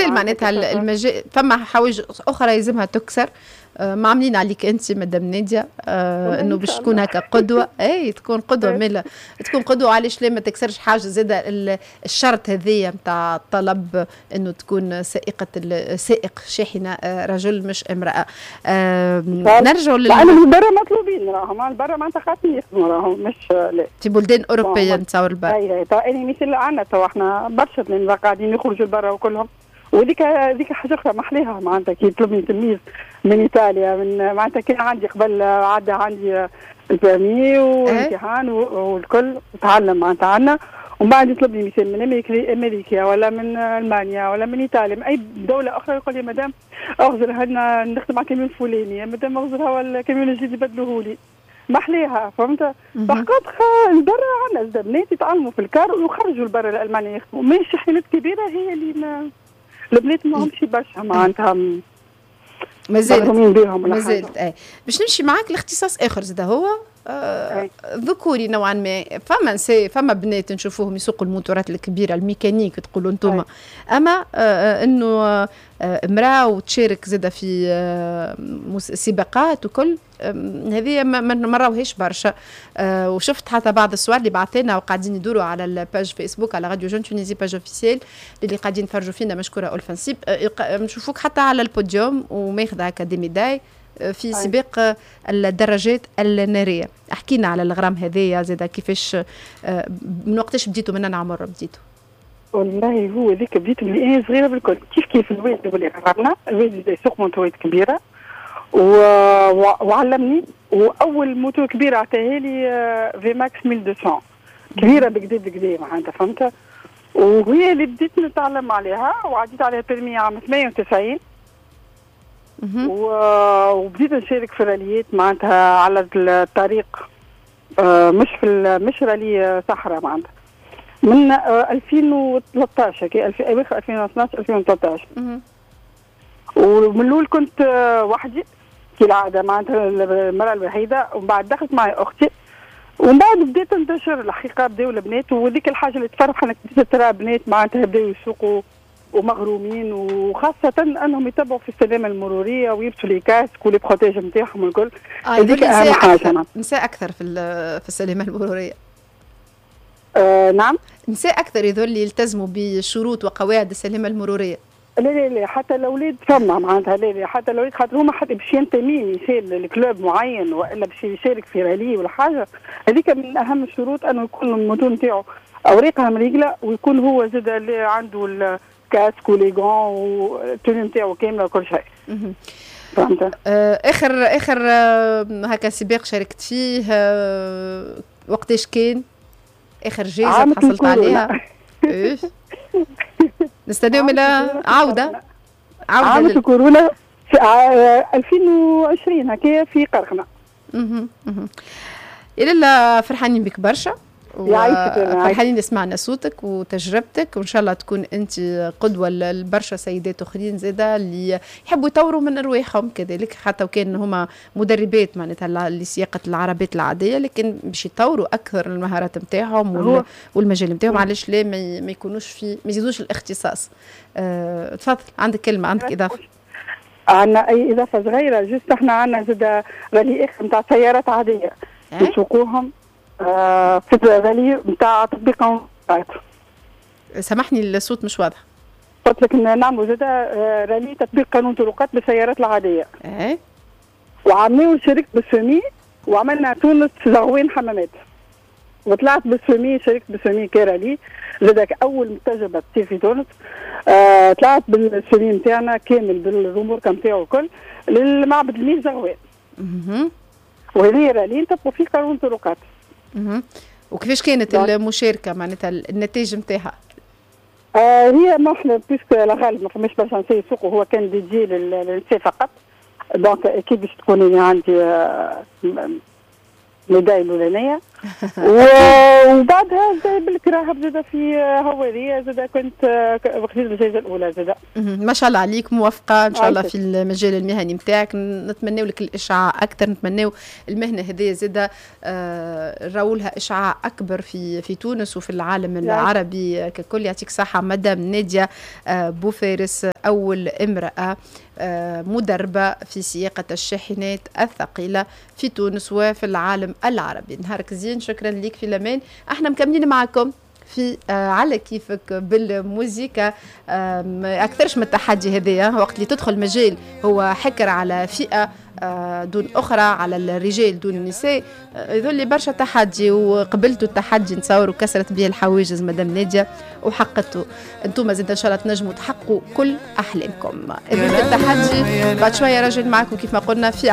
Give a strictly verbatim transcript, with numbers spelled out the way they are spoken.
مازال معناتها المجال فما حوايج اخرى يلزمها تكسر. آه، ما عاملين عليك انت مدام ناديه آه انه باش تكون هكا قدوه، اي تكون قدوه، مالا تكون قدوه، علاش لا؟ ما تكسرش حاجة زاده الشرط هذيا نتاع الطلب انه تكون سائقه، سائق شاحنة آه، رجل مش امراه. آه نرجعوا لل البرا مطلوبين، راهم البرا معناتها خاطر يخدموا، راهم مش لا في بلدان اوروبية نتصور البرا. اي اي يعني مثل عندنا تو احنا برشا قاعدين يخرجوا لبرا وكلهم، وذيك هذيك حاجة اخرى محليها، معناتها كي يطلبني تلميذ من ايطاليا، من معناتها كان عندي قبل عدى عندي ال permis والامتحان والكل، تعلم معناتها عندنا، ومن بعد يطلبني مثال من امريكا امريكا ولا من المانيا ولا من ايطاليا، من اي دولة اخرى، يقول لي مدام اغزر هنا نخدم على كاميون فلاني، يا مدام اغزر هو الكاميون الجديد يبدلوه لي، محليها، فهمت؟ par contre البرا عندنا بنات يتعلموا في الكار ويخرجوا لبرا لالمانيا يخدموا، ماشي شاحنات كبيرة هي اللي ما البنات ما همش برشا معناتها مازالت مازالت. اي باش نمشي معاك لاختصاص اخر زاد هو آه ذكوري نوعا ما، فما نساء فما بنات نشوفوهم يسوقوا الموتورات الكبيرة الميكانيك تقولوا انتم، اما آه انه آه امراة وتشارك زاده في آه سباقات وكل هذه ما نراوهاش برشا. آه وشفت حتى بعض الصور اللي بعثنا وقاعدين يدوروا على ال page فيسبوك على راديو Jeune Tunisie page officielle اللي قاعدين يتفرجوا فينا، مشكورة ألفا نسيب، آه نشوفوك حتى على البوديوم وماخذه هكا des médailles في سباق الدراجات الناريه. احكينا على الغرام هذايا زاد كيفاش، آه، من وقتاش بديتوا، من عمر بديتوا؟ والله هو ذيك بديت من انا صغيرة بالكل، كيف كيف الوالد اللي غرمنا، الوالد يسوق موتورات كبيرة و... وعلمني، واول موتور كبيرة عطاها لي VMAX ألف ومئتين، كبيرة بكدا بكدا معناتها، فهمت؟ وهي اللي بديت نتعلم عليها وعديت عليها permis عام ثمانية وتسعين وبديت نشارك في راليات معناتها على الطريق، آه، مش في مش رالي صحراء، معناتها من ألفين وثلاثة عشر كي اواخر ألفين واثنا عشر ألفين وثلاثة عشر. ومن الاول كنت آه، وحدي كالعادة معناتها المراة الوحيده، ومن بعد دخلت معي اختي، ومن بعد بديت انتشر الحقيقه، بداوا البنات، وذيك الحاجة اللي تفرح انك بديت ترى بنات معناتها بداوا يسوقوا ومغرومين، وخاصة انهم يتبعوا في السلامة المرورية ويلبسوا les casques و les protège نتاعهم الكل. آه هذيك اهم حاجة. نساء اكثر في في السلامة المرورية. آه نعم. نساء اكثر يذول اللي يلتزموا بشروط وقواعد السلامة المرورية. لا لا لا، حتى الاولاد فما معناتها، لا لا، حتى الاولاد، خاطر هما حتى باش ينتمي مثال ل club معين والا باش يشارك في رالي ولا حاجه، هذيك من اهم الشروط انه يكون الموتور نتاعو اوراقها مريقله، ويكون هو زاد اللي عنده ال casque و les gants وال tenue نتاعو كاملة وكل شيء. فهمت؟ آه اخر اخر آه هكا سباق شاركت فيه آه وقتاش كان؟ اخر جائزة حصلت عليها؟ إيه؟ نستناو من عوده. عوده عام الكورونا في ألفين وعشرين هكايا في قرقنة. اها اها يا لالا فرحانين بك برشا، فرحانين سمعنا صوتك وتجربتك، وان شاء الله تكون انت قدوة لبرشا سيدات اخرين زاده اللي يحبوا يطوروا من ارواحهم كذلك، حتى وكان هما مدربات معناتها لسياقه العربات العاديه، لكن باش يطوروا اكثر المهارات نتاعهم والمجال نتاعهم، علاش لا ما يكونوش في ما يزيدوش الاختصاص. أه تفضل، عندك كلمه، عندك اضافه؟ عندنا اي اضافه صغيرة juste، احنا عندنا زاد رالي اخر نتاع سيارات عادية نسوقوهم آه في رالي نتاع تطبيق. سامحني، الصوت مش واضح. قلت لك نعملوا زاد آه، رالي تطبيق قانون طرقات بالسيارات العاديه. ايه وعملنا شاركت بال semi وعملنا تونس زغوين حمامات، وطلعت بال semi، شاركت بال semi ك rallye زادك اول تجربه تصير في تونس. آه طلعت بال semi نتاعنا كامل بالرموركا نتاعو الكل للمعبد الميل زغوان. وهذه رالي نطبقوا فيه قانون طرقات. وكيفاش كانت المشاركه، معناتها النتائج نتاعها؟ آه هي ما احنا puisque الغالب ما فماش برشا نساء يسوقوا، هو كان dédié للنساء فقط، donc اكيد باش تكون عندي آه médaille الاولانيه. وبعدها زاد بالكراهب زاد في هواريه زاد كنت خذيت الجائزة الاولى زاد. ما شاء الله عليك، موفقة ان شاء الله في المجال المهني نتاعك. نتمناو لك الاشعاع اكثر، نتمناو المهنة هذه زاد آه راولها اشعاع اكبر في في تونس وفي العالم العربي ككل. يعطيك صحة مدام ناديه آه بوفارس، اول امراة آه مدربه في سياقه الشاحنات الثقيلة في تونس وفي العالم العربي. نهارك زين، شكرا لك في الامان. احنا مكملين معكم في آه على كيفك بالموزيكا. آه اكثرش من التحدي هذايا، وقت اللي تدخل مجال هو حكر على فئة آه دون اخرى، على الرجال دون النساء، يظل برشا تحدي، وقبلتوا التحدي نتصور وكسرت به الحواجز مدام ناديه وحققتوا. انتم زاد ان شاء الله تنجموا تحققوا كل احلامكم. التحدي بعد شوية راجل معكم كيف ما قلنا في